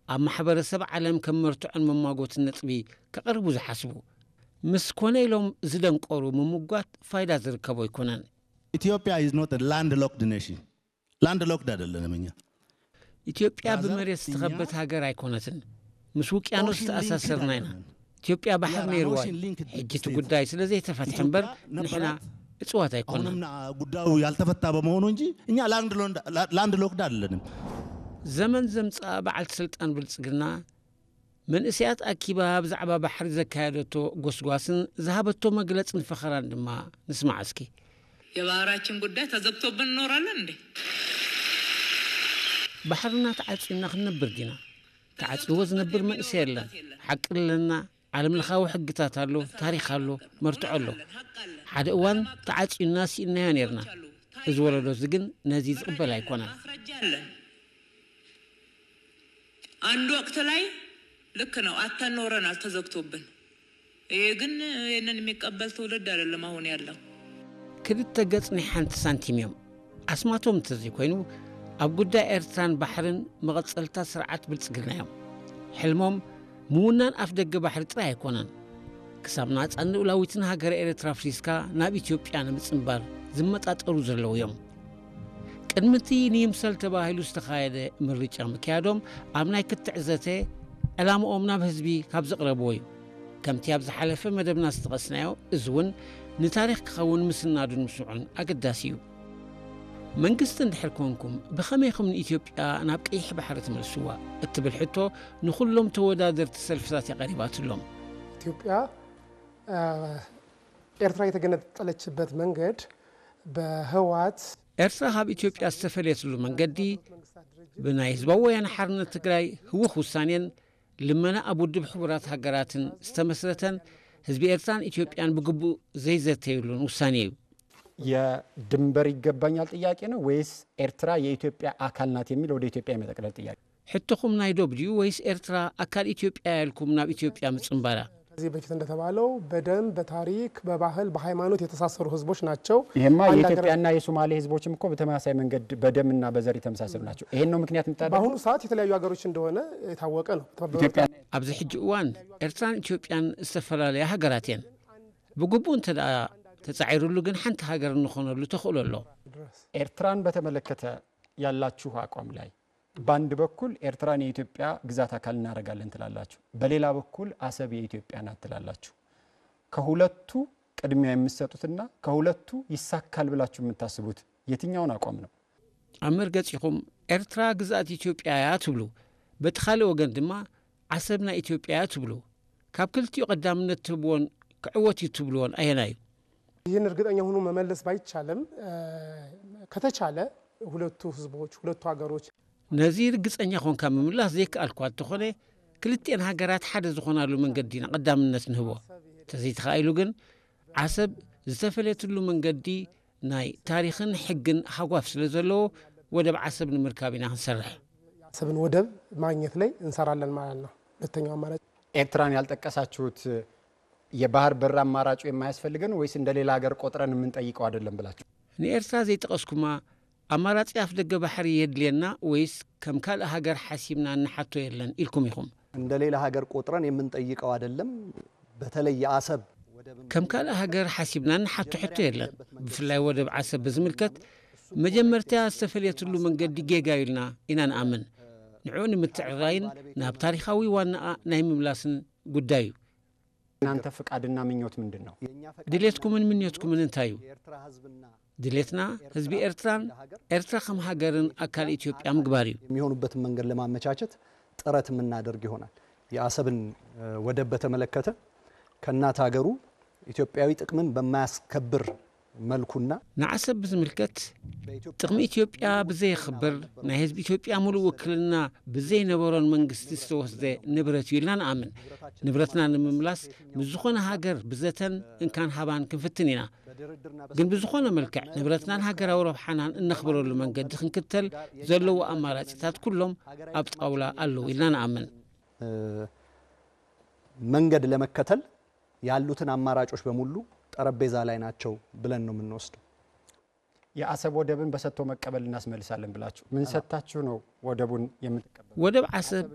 ኣብ ማሕበረሰብ ዓለም ከም መርትዖን መማጎትን ነጥቢ ከቕርቡ ዝሓስቡ፣ ምስ ኮነ ኢሎም ዝደንቆሩ ምምጓት ፋይዳ ዝርከቦ ኣይኮነን። Ethiopia is not a landlocked nation. Landlocked አይደለንም እኛ። ኢትዮጵያ ብመሬት ዝተኸበት ሃገር ኣይኮነትን። ምስ ውቅያኖስ ተኣሳሰርና ኢና። ኢትዮጵያ ባሕር ነይርዋ። ሕጂ እቲ ጉዳይ ስለ ዘይተፈትሐ እምበር ንሕና እፅዋት ኣይኮናን። ጉዳዩ ያልተፈታ በመሆኑ እንጂ እኛ landlocked አይደለንም። ዘመን ዘምፅኣ በዓልቲ ስልጣን ብልፅግና መንእሰያት ኣኪባ ብዛዕባ ባሕሪ ዘካየደቶ ጎስጓስን ዝሃበቶ መግለፅን ፈኸራን ድማ ንስማዕ እስኪ። የባህራችን ጉዳይ ተዘግቶብን እኖራለን እንዴ? ባሕርና ተዓፅዩና ክንነብር ዲና? ተዓፅይዎ ዝነብር መንእሰይ የለን። ሓቂ ኣለና። ዓለምለኻዊ ሕግታት ኣሎ፣ ታሪኽ ኣሎ፣ መርትዖ ኣሎ። ሓደ እዋን ተዓፅዩና ስኢንናዮ ነርና። እዚ ወለዶ እዚ ግን ነዚ ዝቕበል ኣይኮነን። አንድ ወቅት ላይ ልክ ነው አተን ኖረናል ተዘግቶብን። ይሄ ግን ይህንን የሚቀበል ትውልድ አይደለም አሁን ያለው። ክልተ ገጽ ናይ ሓንቲ ሳንቲም እዮም። ኣስማቶም እንተዘይኮይኑ ኣብ ጉዳይ ኤርትራን ባሕርን መቐጸልታ ስርዓት ብልጽግና እዮም። ሕልሞም ምውናን ኣፍ ደገ ባሕሪ ጥራይ ኣይኮነን። ክሳብ ናጻን ልኡላዊትን ሃገረ ኤርትራ ኣፍሪስካ ናብ ኢትዮጵያ ንምጽንባር ዝመጣጠሩ ዘለዉ እዮም። ቅድሚ እቲ ንይምሰል ተባሂሉ ዝተኻየደ ምርጫ ምክያዶም ኣብ ናይ ክትዕ ዘተ ዕላምኦም ናብ ህዝቢ ካብ ዘቕረብዎ እዩ። ከምቲ ኣብ ዝሓለፈ መደብና ዝጠቐስናዮ፣ እዚ እውን ንታሪኽ ክኸውን ምስናዱን ምስምዑን ኣገዳሲ እዩ። መንግስቲ እንድሕር ኮንኩም ብኸመይ ኢኹም ንኢትዮጵያ ናብ ቀይሕ ባሕሪ ትመልስዋ እትብል ሕቶ ንኹሎም ተወዳደርቲ ሰልፍታት እያ ቀሪባትሎም። ኢትዮጵያ ኤርትራ የተገነጠለችበት መንገድ በህወሓት ኤርትራ ካብ ኢትዮጵያ ዝተፈለየትሉ መንገዲ ብናይ ህዝባዊ ወያነ ሓርነት ትግራይ ህውኽ ውሳኔን ልመና ኣብ ውድብ ሕቡራት ሃገራትን ዝተመስረተን ህዝቢ ኤርትራን ኢትዮጵያን ብግቡእ ዘይዘተዩሉን ውሳኔ እዩ። የድንበር ይገባኛል ጥያቄ ነው ወይስ ኤርትራ የኢትዮጵያ አካል ናት የሚል ወደ ኢትዮጵያ የመጠቅለል ጥያቄ? ሕቶኹም ናይ ዶብ ድዩ ወይስ ኤርትራ ኣካል ኢትዮጵያ ያልኩም ናብ ኢትዮጵያ ምጽንባራ? ከዚህ በፊት እንደተባለው በደም በታሪክ በባህል በሃይማኖት የተሳሰሩ ህዝቦች ናቸው። ይሄማ የኢትዮጵያና የሶማሌ ህዝቦችም እኮ በተመሳሳይ መንገድ በደምና በዘር የተመሳሰሉ ናቸው። ይሄን ነው ምክንያት የምታደርገው? በአሁኑ ሰዓት የተለያዩ ሀገሮች እንደሆነ የታወቀ ነው። ኢትዮጵያ ኣብዚ ሕጂ እዋን ኤርትራን ኢትዮጵያን ዝተፈላለያ ሃገራት እየን። ብግቡእ እንተ ደኣ ተጻዒሩሉ ግን ሓንቲ ሃገር እንኾነሉ ተኽእሎ ኣሎ። ኤርትራን በተመለከተ ያላችሁ አቋም ላይ በአንድ በኩል ኤርትራን የኢትዮጵያ ግዛት አካል እናደርጋለን ትላላችሁ፣ በሌላ በኩል አሰብ የኢትዮጵያ ናት ትላላችሁ። ከሁለቱ ቅድሚያ የምትሰጡትና ከሁለቱ ይሳካል ብላችሁ የምታስቡት የትኛውን አቋም ነው? ኣብ መርገጺኹም ኤርትራ ግዝኣት ኢትዮጵያ እያ ትብሉ፣ በቲ ካልእ ወገን ድማ ዓሰብ ናይ ኢትዮጵያ እያ ትብሉ። ካብ ክልቲኡ ቀዳምነት ትህብዎን ክዕወት እዩ ትብልዎን ኣየናይ እዩ? ይህን እርግጠኛ ሆኖ መመለስ ባይቻልም ከተቻለ ሁለቱ ህዝቦች ሁለቱ ሀገሮች ነዚ ርግጸኛ ኾንካ ምምላስ ዘይከኣልኳ እንተኾነ ክልቲኤን ሃገራት ሓደ ዝኾናሉ መንገዲ ኢና ቀዳምነት ንህቦ። ተዘይተኻኢሉ ግን ዓሰብ ዝተፈለየትሉ መንገዲ ናይ ታሪኽን ሕግን ሃጓፍ ስለ ዘለዎ ወደብ ዓሰብ ንምርካብ ኢና ክንሰርሕ። የአሰብን ወደብ ማግኘት ላይ እንሰራለን ማለት ነው። ሁለተኛው አማራጭ ኤርትራን ያልጠቀሳችሁት የባህር በር አማራጩ የማያስፈልገን ወይስ እንደ ሌላ ሀገር ቆጥረን የምንጠይቀው አይደለም ብላችሁ? ንኤርትራ ዘይጠቐስኩማ ኣማራጺ ኣፍ ደገ ባሕሪ የድልየና ወይስ ከም ካልእ ሃገር ሓሲብና እንሓቶ የለን ኢልኩም ኢኹም? እንደ ሌላ ሀገር ቆጥረን የምንጠይቀው አይደለም። በተለይ የአሰብ ከም ካልእ ሃገር ሓሲብና እንሓቶ ሕቶ የለን። ብፍላይ ወደብ ዓሰብ ብዝምልከት መጀመርታ ዝተፈልየትሉ መንገዲ ጌጋ እዩ ኢልና ኢና ንኣምን። ንዕኡ ንምትዕራይን ናብ ታሪኻዊ ዋናኣ ናይ ምምላስን ጉዳይ እዩ። እናንተ ፍቃድና ምኞት ምንድን ነው? ድሌትኩምን ምኞትኩምን እንታይ እዩ? ድሌትና ህዝቢ ኤርትራን ኤርትራ ከም ሃገርን ኣካል ኢትዮጵያ ምግባር እዩ። የሚሆኑበትን መንገድ ለማመቻቸት ጥረት የምናደርግ ይሆናል። የአሰብን ወደብ በተመለከተ ከእናት ሀገሩ ኢትዮጵያዊ ጥቅምን በማያስከብር መልኩና ንዓሰብ ብዝምልከት ጥቕሚ ኢትዮጵያ ብዘየኽብር ናይ ህዝቢ ኢትዮጵያ ሙሉእ ውክልና ብዘይነበሮን መንግስቲ ዝተወስደ ንብረት እዩ ኢልና ንኣምን። ንብረትና ንምምላስ ምስ ዝኾነ ሃገር ብዘተን እንካን ሃባን ክንፍትን ኢና። ግን ብዝኾነ መልክዕ ንብረትናን ሃገራዊ ረብሓናን እነኽብረሉ መንገዲ ክንክተል ዘለዎ ኣማራጺታት ኩሎም ኣብ ጣውላ ኣለዉ ኢልና ንኣምን። መንገድ ለመከተል ያሉትን አማራጮች በሙሉ ጠረጴዛ ላይ ናቸው ብለን ነው የምንወስደው። የአሰብ ወደብን በሰጥቶ መቀበል እናስመልሳለን ብላችሁ ምን ሰጥታችሁ ነው ወደቡን የምትቀበሉ? ወደብ ዓሰብ